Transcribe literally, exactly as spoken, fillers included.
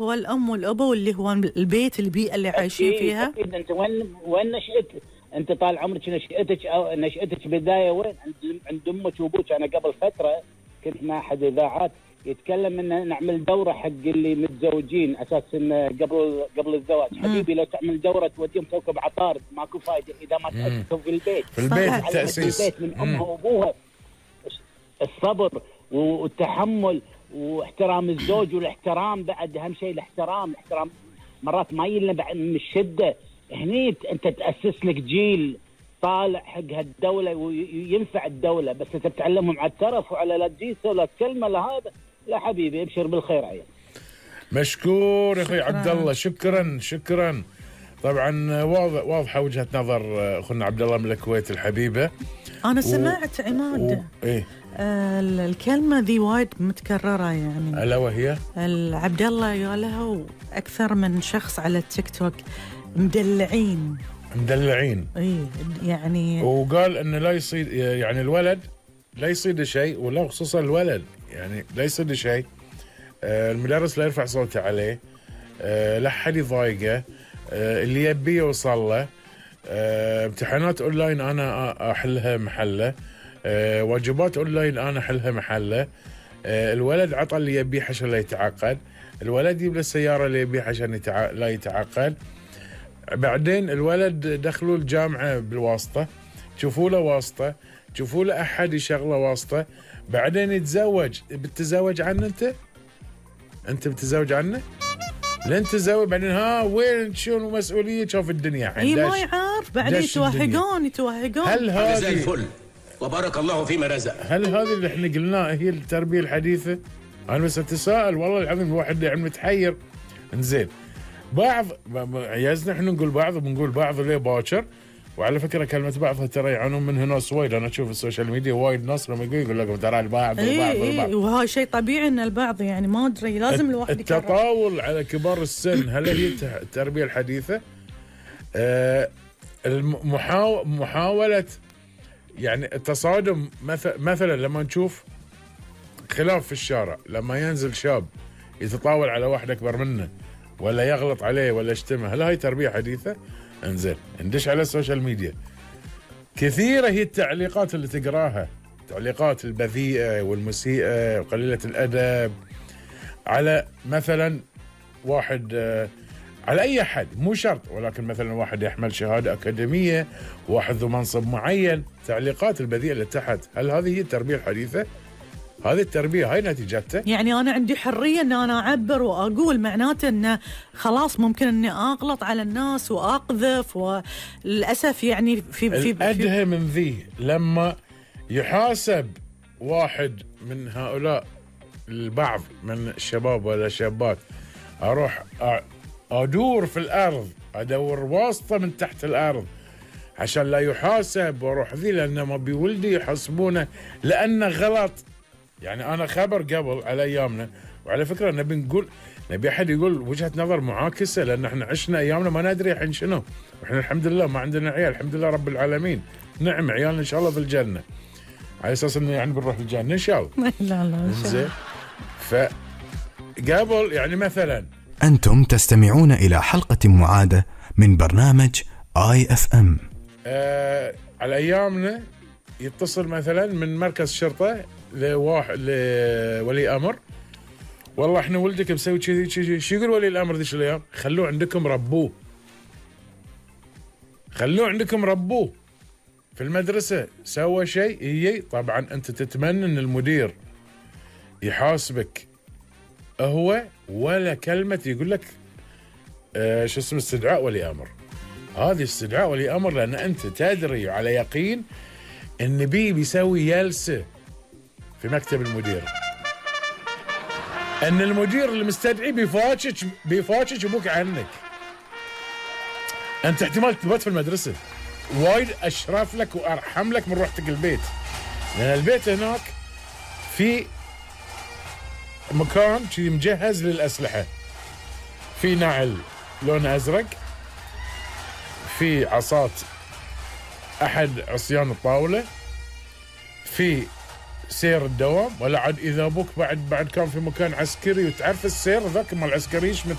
هو الأم والأبو اللي هو البيت، البيئة اللي عايشين فيها. أكيد. أنت وين وين نشأت؟ أنت طال عمرك نشأتك أو نشأتك بداية وين؟ عند عند أمك وأبوك. أنا قبل فترة كنت مع أحد إذاعات يتكلم إن نعمل دورة حق اللي متزوجين أساس إن قبل قبل الزواج. حبيبي لو تعمل دورة توديهم كوكب عطارد ماكو فايدة إذا ما تأسسوا في البيت. في البيت التأسيس. البيت من أمها وأبوها. الصبر والتحمل واحترام الزوج، والاحترام بعد أهم شيء. الاحترام الاحترام مرات ما يلنا بعد من الشدة. هني أنت تأسس لك جيل طالع حق هالدولة وينفع الدولة، بس أنت بتعلمهم على الترف وعلى لا تجيسه ولا كلمة لهذا. لا حبيبي ابشر بالخير عيال. مشكور يا أخوي عبد الله، شكرا شكرا. طبعا واضحة وجهة نظر أخونا عبد الله من الكويت الحبيبة. أنا سمعت و... عماد و... إيه؟ آه الكلمة ذي وايد متكررة يعني. ألا وهي؟ عبد الله قالها أكثر من شخص على التيك توك. مدلعين مدلعين اي يعني. وقال انه لا يصير يعني الولد لا يصير شيء، ولا خصوصا الولد يعني لا يصير شيء. آه المدرس لا يرفع صوته عليه، آه لا حد يضايقه، آه اللي يبيه يوصل له. آه امتحانات اونلاين انا احلها محله، آه واجبات اونلاين انا احلها محله. آه الولد عطى اللي يبيه عشان لا يتعقد، الولد يجيب له السياره اللي يبيه عشان يتع... لا يتعقد. بعدين الولد دخلوا الجامعة بالواسطة، تشوفوا له واسطة، تشوفوا له أحد يشغله واسطة. بعدين يتزوج. بتتزوج عنه أنت؟ أنت بتتزوج عنه؟ لين تتزوج بعدين ها وين شنو مسؤولية؟ شوف الدنيا اي ما يعرف بعدين يتوهقون يتوهقون. هل هذه زي الفل وبارك الله فيما رزق؟ هل هذه اللي احنا قلناه هي التربية الحديثة؟ أنا بس أتساءل والله العظيم. الواحد يعني متحير. انزين بعض عيازنا احنا نقول بعض وبنقول بعض ليه باكر. وعلى فكره كلمه بعض ترى يعانون منها ناس وايد. انا اشوف السوشيال ميديا وايد ناس لما يقول لك ترى البعض والبعض والبعض. اي وهذا شيء طبيعي ان البعض يعني ما ادري لازم الواحد يكرر. التطاول على كبار السن هل هي التربيه الحديثه؟ آه المحاو... محاوله يعني التصادم. مثلا مثلا لما نشوف خلاف في الشارع، لما ينزل شاب يتطاول على واحد اكبر منه ولا يغلط عليه ولا يشتمه، هل هاي تربية حديثة؟ انزين ندش على السوشيال ميديا، كثيرة هي التعليقات اللي تقراها، تعليقات البذيئة والمسيئة وقليلة الأدب على مثلا واحد، على أي أحد مو شرط، ولكن مثلا واحد يحمل شهادة أكاديمية، واحد ذو منصب معين، تعليقات البذيئة اللي تحت. هل هذه هي التربية الحديثة؟ هذه التربية هاي نتيجتها. يعني أنا عندي حرية أن أنا أعبر وأقول، معناته أنه خلاص ممكن أني أغلط على الناس وأقذف. وللأسف يعني في في الأدهى من ذي لما يحاسب واحد من هؤلاء البعض من الشباب ولا شابات، أروح أدور في الأرض، أدور واسطة من تحت الأرض عشان لا يحاسب، وأروح ذي لأنه ما بيولدي يحاسبونه لأنه غلط. يعني أنا خبر قبل على أيامنا، وعلى فكرة نبي نقول نبي أحد يقول وجهة نظر معاكسة، لأن إحنا عشنا أيامنا ما ندري الحين شنو، وإحنا الحمد لله ما عندنا عيال، الحمد لله رب العالمين. نعم عيالنا إن شاء الله في الجنة، على أساس إنه يعني بنروح الجنة إن شاء الله. لا لا زين. فقبل يعني مثلا أنتم تستمعون إلى حلقة معادة من برنامج آي إف إم. آه على أيامنا يتصل مثلا من مركز شرطة لواحد لولي امر، والله احنا ولدك مسوي كذي كذي. شو يقول ولي الامر ذيك الايام؟ خلوه عندكم ربوه، خلوه عندكم ربوه. في المدرسه سوى شيء يجي طبعا انت تتمنى ان المدير يحاسبك هو، ولا كلمه يقول لك آه شو اسمه استدعاء ولي امر. هذه استدعاء ولي امر لان انت تدري على يقين ان بي بيسوي جلسه في مكتب المدير، ان المدير اللي مستدعي بيفاتشك بيفاتشك ابوك عنك. انت احتمال تبات في المدرسه، وايد اشرف لك وارحم لك من روحتك البيت، لان البيت هناك في مكان شي مجهز للاسلحه، في نعل لون ازرق، في عصات احد عصيان الطاوله، في سير الدوام، ولا عاد اذا ابوك بعد بعد كان في مكان عسكري وتعرف السير ذاك مال العسكريين